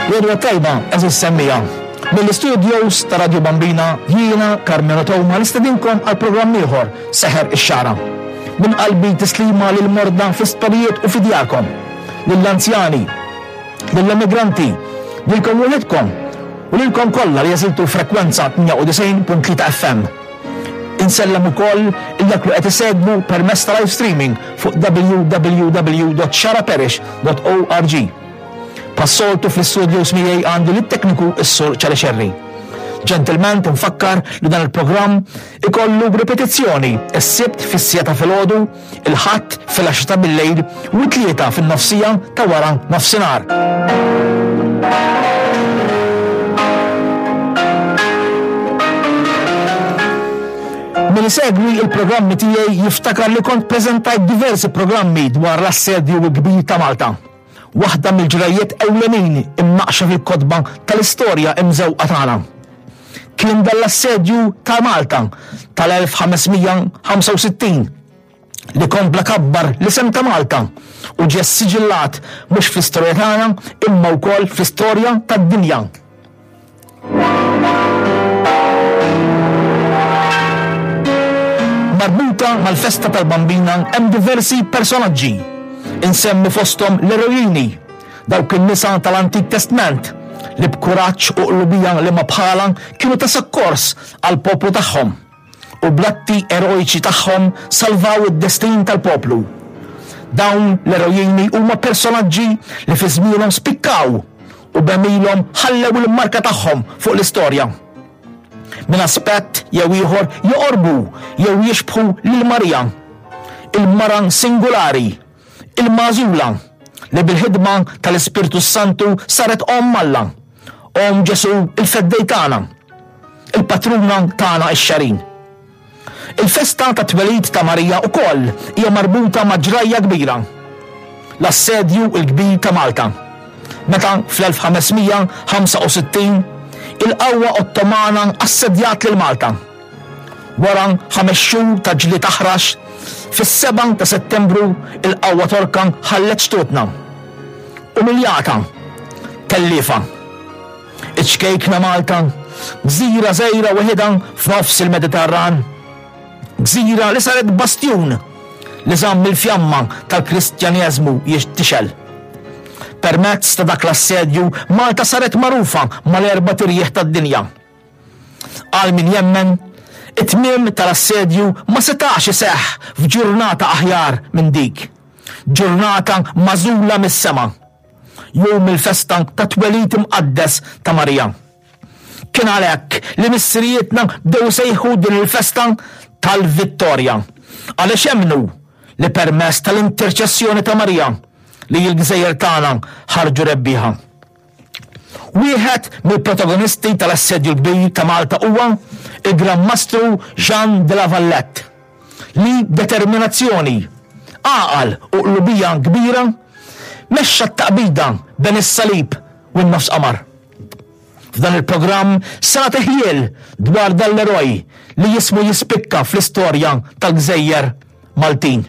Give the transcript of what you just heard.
L-għodwa t-tajba, għeżież semmiegħa. Mill-istudios ta' Radio Bambina jiena Carmelo Toma nistedinkom għal programm ieħor Seħer ix-Xagħra. Minn qalbi tislima lill-morda fl-isptarijiet u fi djarkom, lill-anzjani, lill-emigranti, lilkom wliedkom u lilkom kollha li għażiltu l-frekwenza 98.3 FM. Insellem ukoll lil dawk li qed isegwu permezz ta' live streaming fuq www.xaraparish.org. Bħas-soltu fl-istudios miegħi għandi lit-tekniku s-Sur Ċali Xerri. Ġentilment infakkar li dan il-programm ikollu ripetizzjoni s-Sibt fis-siegħa ta' filgħodu, il-Ħadd fil-għaxra ta' billejl u t-Tlieta fin-nofsija ta' wara nofsinhar. Min isegwi il-programmi tiegħi jiftakar li kont preżentajt diversi programmi dwar l-assedju l-kbir ta' Malta. Waħda mill-ġrajjiet ewlenin imnaqqxa fil-kotba tal-istorja imżewqa tagħna. Kien dan l-assedju ta' Malta tal-1565 li kompla kabbar l-isem ta' Malta u ġie ssiġillat mhux fl-istorja tagħna imma wkoll fl-istorja tad-dinja. Marbuta mal-festa tal-Bambina hemm diversi personaġġi. Insemmi fosthom l-erojini, dawk in-nisa tal-Antik Testment li b'kuraġġ u qlubija li ma bħala kienu ta' sokkors għall-poplu tagħhom. u bl-atti erojċi tagħhom salvaw id-destin tal-poplu. Dawn l-erojini huma personaġġi li fi żmienhom spikkaw u b'għemilhom ħallew il-marka tagħhom fuq l-istorja. Minn aspett jew ieħor joqorbu jew jixbħu lil Marija, il-mara singulari, il-magħżula li bil-ħidma tal-Ispirtu s-Santu saret Omm Alla, Omm Ġesù il-Feddej tagħna, il-patruna tagħna x-Xagħrin. Il-festa tat-twelid ta' Marija wkoll hija marbuta ma' ġrajja kbira, l-Assedju l-Kbir ta' Malta, meta fl-1565 il-qawwa Ottomana assedjat lil Malta. Wara ħames xhur ta' ġlied aħrax, fis-7 ta' Settembru il-qawwa Torka ħallet xtutna. Umiljata, telliefa. Iċ-ċkejkna Malta, gżira żgħira weħidha f'nofs il-Mediterran. Gżira li saret bastjun li żamm il-fjamma tal-Kristjaneżmu jixtixel. Permezz ta' dak l-assedju Malta saret magħrufa mal-erbat irjieħ tad-dinja. Għal min jemmen, it-tmiem tal-assedju ma setax iseħħ f'ġurnata aħjar minn dik. Ġurnata magħżula mis-sema. Jum il-festa tat-twelid imqaddes ta' Marija. Kien għalhekk li missirijietna bdew isejħu din il-festa tal-Vittorja, għaliex emmnu li permezz tal-interċessjoni ta' Marija li l-gżejjer tagħna ħarġu rebbieħa. Wieħed mill-protagonisti tal-Assedju l-Kbir ta' Malta huwa il-Gran Mastru Jean de la Valette, li b'determinazzjoni, għaqal u qlubija kbira mexxa t-taqbida bejn is-salib u n-nofs qamar. F'dan il-programm se nagħti ħjiel dwar dan l-eroj li jismu jispikka fl-istorja tal-gżejjer Maltin.